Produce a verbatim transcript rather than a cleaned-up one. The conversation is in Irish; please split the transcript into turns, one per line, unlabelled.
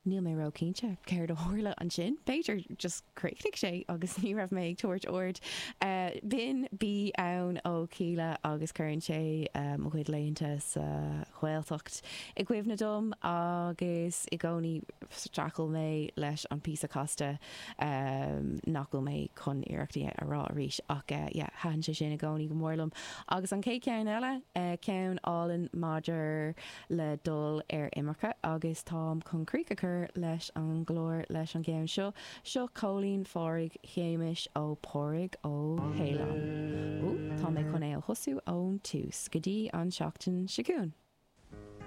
Níl mé ró-chinnte céard a tharla ansin, b'fhéidir just chríochnaigh sé agus ní raibh mé ag tabhairt aird. B'in Bí Ann ó Kíla agus cuireann sé mo chuid laethanta sa Ghaeltacht i gcuimhne dom agus i gcónaí streachail mé leis an píosa casta nach bhfuil mé chun iarracht é a rá arís ach yeah thaitin sé sin i gcónaí go mór liom. Agus an chéad cheann eile, ceann álainn maidir le dul ar imirce agus táim chun críoch a chur leis an gclár leis an gceann seo. Seo Cóilín Phádraig Shéamais ó Pádraig Ó hAoláin. Ó, tá mé chun é a thosú ón tús. Go dtí an seachtain seo chugainn.